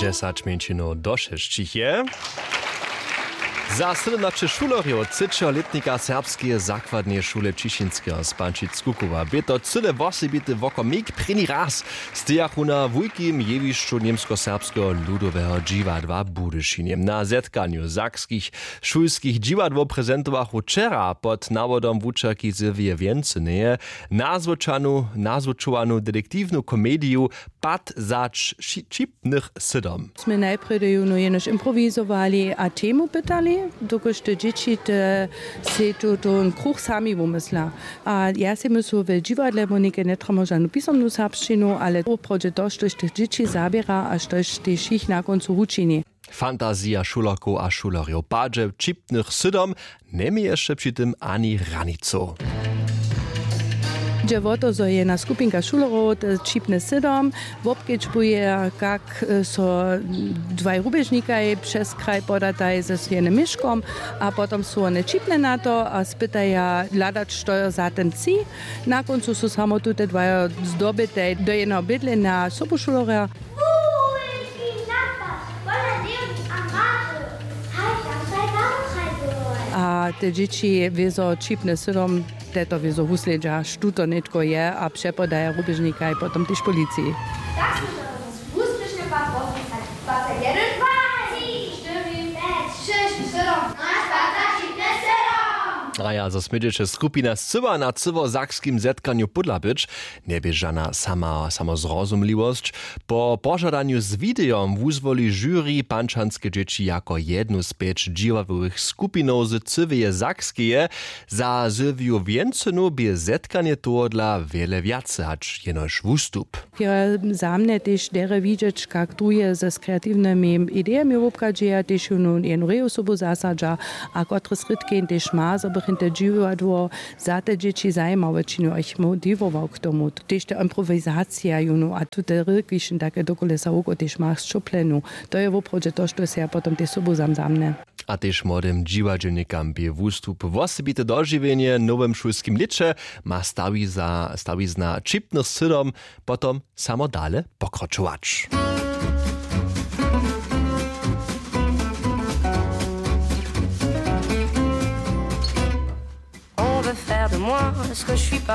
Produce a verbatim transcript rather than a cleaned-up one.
Dźesać mjeńšinow do šesćich je. Za sydomnaće šulerjow třećeho lětnika serbskeje zakładneje šule Ćišinskeho z Pančic-Kukowa bě to cyle wosebity wokomik. Prěni raz stejachu na wulkim jewišću Němskoserbskeho ludoweho dźiwadła w Budyšinje. Na zetkanju sakskich šulskich dźiwadłow prezentowachu wčera pod nawodom wučerki Sylwije Wjencyneje nazwučanu nazwučowanu detektiwnu komediju Pad za ć- ći- ćipnych sydom. Smy najprjedy jónu jenož improwizowali a temu pytali, dokelž te dźěći te sej tu ten kruch sami wumysla. A ja sej myslu, w dźiwadle wónike njetrjebamy žanu pisomnu serbšćinu, ale woprawdźe to, štož tych dźěći zaběra a štož tež jich na kóncu wučini. Fantazija šulerkow a šulerjow padźe w ćipnych sydom, njeměješe při tym ani hranicow. Dźe wo to, zo je jedna skupinka šulerow te ćipne sydom wobkedźbuje, kak so dwaj rubježnikaj přez kraj podataj ze swojim měškom a potom su wone ćipne na to a spytaja hladać, što je za ten tři. Na kóncu su samo tute dwajo zdobitej do jedneho bydlenja sobušulerja. Wulki napad pola Leonik a Maty. Haj, tam staj wałtrajboj. A te dźěći wězo ćipne sydom te to wězo wuslědźa, štó to nětko je, a přepodaja rubježnikaj potom tež policiji. Tak smy to wuspěšnje pak rozpisali. Dwacejdjedyn, dwa, tři, štyri, pjeć, šěsć, sydom, naš dwacećipjeć sydom. A ja, zo smědźeće skupina scyła na cyłosakskim zetkanju pódla być, njebě žana sama, samozrozumliwosć. Po požadanju z widejom wuzwoli žuri pančanske dźěći jako jednu z pjeć dźiwadłowych skupinow z cyłeje Sakskeje. Za Sylwiju Wjencynu bě zetkanje tohodla wjele wjace hač jenož wustup. Jo, za mnje tež derje widźeć, kak druhje z kreatiwnymi idejemi wobchadźeja, tež jónu jednu reju sobu zasadźa a kotre srědkeń tež ma, zo bych jim te dźiwadło za te dźěći zajimawe činił a jich motiwował k tomu. Tež ta improwizacija jónu a tute rěki, kiž jim take dokolesa woko tež ma sćoplenu. To je woprawdźe to, što sej ja potom tež sobu zamzamnje. A tež młodym dźiwadźelnikam bě wustup wosebite dožiwjenje w nowym šulskim lěće. Ma stawiza stawizna ćipnych sydom potom samo dale pokročować. On veut faire de moi ce que je suis pas.